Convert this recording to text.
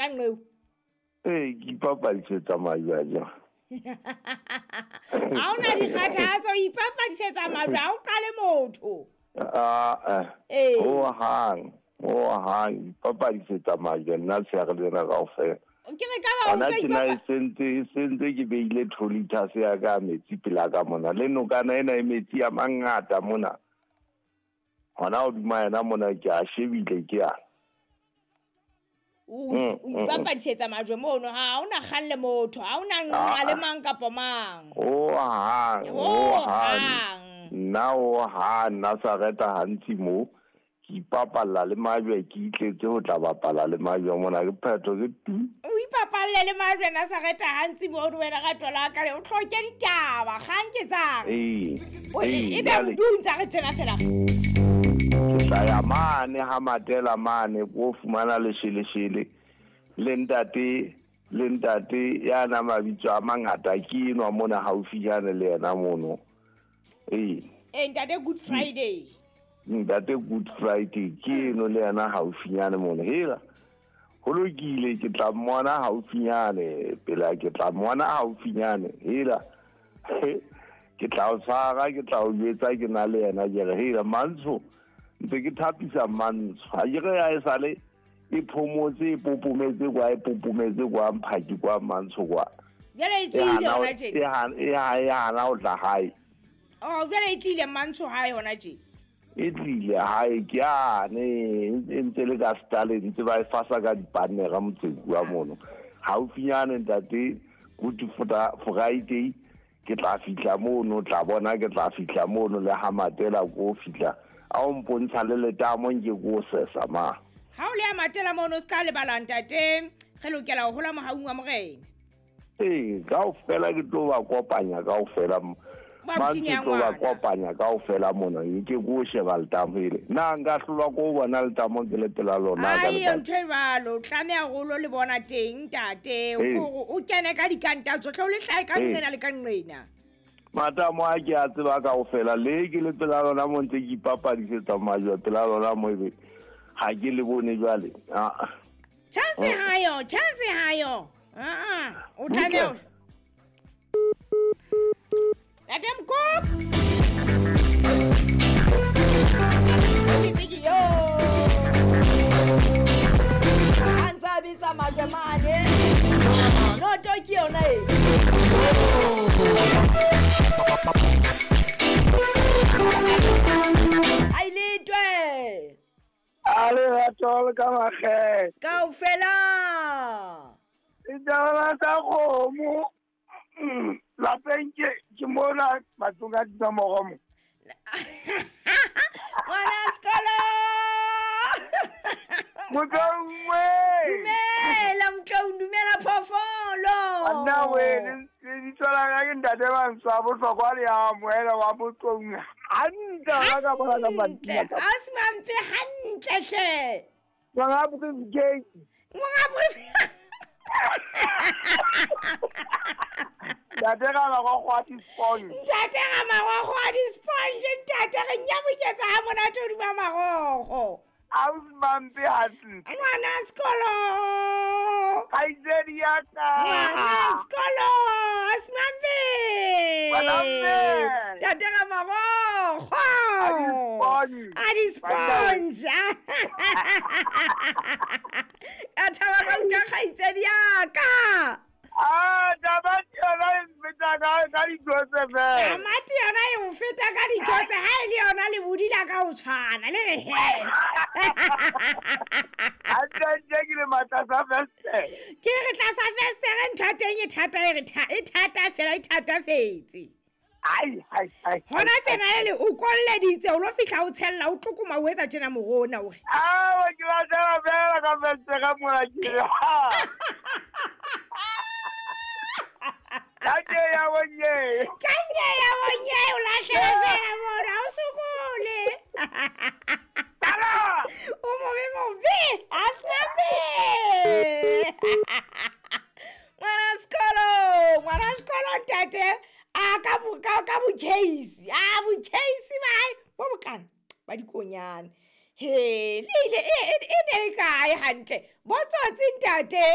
Ka nqeo. Ee, ke ipapadisetsa majwe a jang. Ha o na dikgathatso, o ipapadisetsa majwe, ha o qale motho. Aa, Ee. ho hang, ho hang, ipapadisetsa majwe nna tsheare lena kaofela. Ke re ka ba o Hona ntso tjena e ipapa- sentse, e sentse ke beile 2 liters ya ka ya metsi pela ka mona. Le nokana ena e metsi a mangata mona. Hona hodima yena mona ke a shebile ke a. O o ipapadisetsa majwe mono, ha o na kgalle motho, ha o na nqa le mang kapa mang. Ho hang, ho hang. Nna ho hang, nna sa reta hantsi mo. Ke ipapalla le majwe, ke itletse ho tla bapala le majwe mona, ke phetho ke tu. O ipapalle le majwe Nazareta hantsi mono wena rato la ka, o hloke ditaba, kgang ke tsang. Ee, O ee, e be jwale modung tsa re tjena fela. Ke tla ya mane ha Matela mane, ko fumana lesheleshele le ntate, le ntate ya na mabitso a mangata ke enwa mona haufinyane le yena mono. Ee. Ee, ntate Good Friday. Ntate Good Friday ke eno le yena haufinyane mono. Hela, ho lokile, ke tla mmona haufinyane, pela ke tla mmona haufinyane. Hela, ke tla o tshwara, ke tla o jwetsa ke na le yena, ke re hela Mantsho, ntse ke thapisa Mantsho. Ha ke re ha e sale e phomotse, e popometse kwa, e popometse kwa, mphaki kwa, Mantsho kwa. Jwale e E tlile hana ho- hona tje. e hana, e ha, e hana ho tla hae. Oh, jwale e tlile Mantsho hae hona tje. E tlile hae ke yane, e ntse le ka style, ntse ba e fasa ka dipannera motseng wa mono. Haufinyane ntate Good Friday ke tla fihla mono, tla bona ke tla fihla mono le ha Matela ko fihla. A o mpontsha le letamo nke ko sesa ma. Ha o le ya Matela mono o ska lebala ntate, re lokela ho hola mohaung wa Morena. Ee, kaofela ke tlo ba kopanya kaofela. Ba Mantswe botini ya tlo ba ngwana. kopanya kaofela mona, nke ko sheba letamo ele. Na nka hlolwa ko bona letamo ke le pela lona ka Ai, letsatsi? ntho e jwalo, o tlameha hore o lo le bona teng ntate, Ee. o o kene ka dikanta tsohle, o le hlahe ka Ee. nqena le ka nqena. Matamo a ke a tseba kaofela, le ke le pela lona mo ntse ke ipapadisetsa majwe pela lona mo ebe ha ke le bone jwale. Ah. Chance hayo, chance hayo. Ah, o tlameha Butle. Ntate Mokop. A ntse a betsa majwe mane. Noto ke yona e. A iletwe. A le rato le ka makgethe. Kaofela. Ditaba tsa kgomo. Lapeng ke mona matlong a dinomoro mo. Ngwana sekolo. Motloungwe. Dumela Motloung, dumela phoofolo. Banna we, le lebitso la ka ke ntate Mantsho a bohlokwa le a amohela wa Motloung. Hantle ha ka bona ka Hantle, matsatsi a. a se mampe hantle hle. Monga briefcase. Monga briefcase. Ntate ka marokgo a di-sponge. Ntate ka marokgo a di-sponge, ntate re nyaboketsa ha monate hodima marokgo. Ausi mampe hantle. Ngwana sekolo. Kgaitsedi ya ka. Ngwana sekolo, ausi mampe. Ngwana mme. Ntate ka marokgo. A di-sponge. A di-sponge. Ka thaba ka utlwa kgaitsedi ya ka. Ah, tamati yona e mfeta ka ditho tse fela. Tamati yona e o feta ka ditho tse, ha e le yona le bodila ka ho tshwana, le re he. Hantle-ntle ke le matlasa festere. Ke re tlasa festere ntho ya teng e thata, e re e thata fela, e thatafetse. Ai, ai, ai, Hona ai, tjena ai. ele o kolleditse, o lo fihla o tshella, o tlokoma, o etsa tjena morona o re. Awa, ke batlela fela ka festere mona ke re, ha. Ka nye ya bonye. Ka nye ya bonye, o lahlela fela mona, o sokole. Tala! O mobe mobe, a se mobe. Ngwana sekolo, ngwana sekolo ntate, a ka bo, ka, ka bo case, a bo case ba hae, bo bokana, ba dikonyana. He, le ile, e ne e kae hantle? Bo tsotsi ntate.